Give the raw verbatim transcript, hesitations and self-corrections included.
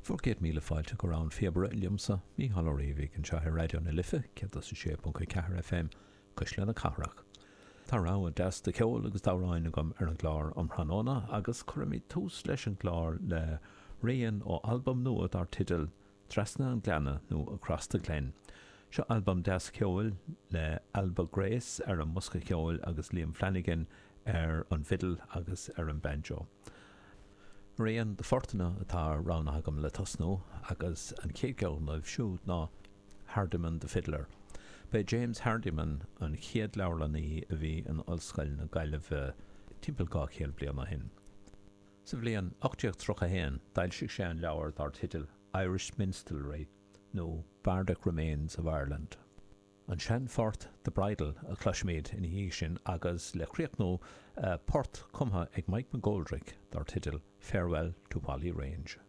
Bhur gcéad míle fáilte go Rann na Píobaire liomsa, Mícheál Ó Riabhaigh, anseo ar Raidió na Life, céad is a sé ponc a ceathair F M, Cuisle na Cathrach. Tá rogha deas de cheol agus d'amhráin agam ar an gclár um thráthnóna agus cuirfimid tús leis an gclár le rian ó albam nua dar teideal Trasna an Ghleanna nó Across the Glen. Seo albam deas ceoil le Alba Grace ar an mbosca ceoil agus Liam Flanagan ar an bhfidil agus ar an banjo. Rian de phortanna atá roghnaithe agam le tosnú agus an chéad cheann díobh siúd ná Hardiman the Fiddler. B'é James Hardiman an chéad leabharlannaí a bhí in Ollscoil na Gaillimhe timpeall dhá chéad bliain ó shin. Sa bhliain ocht déag tríocha a haon d'fhoilsigh sé an leabhar dar teideal Irish Minstrelsy nó Bardic Remains of Ireland. An seanphort The Bridal a chloisfimid ina dhiaidh sin agus le críochnú port cumtha ag Mike McGoldrick dar teideal Farewell to Whalley Range.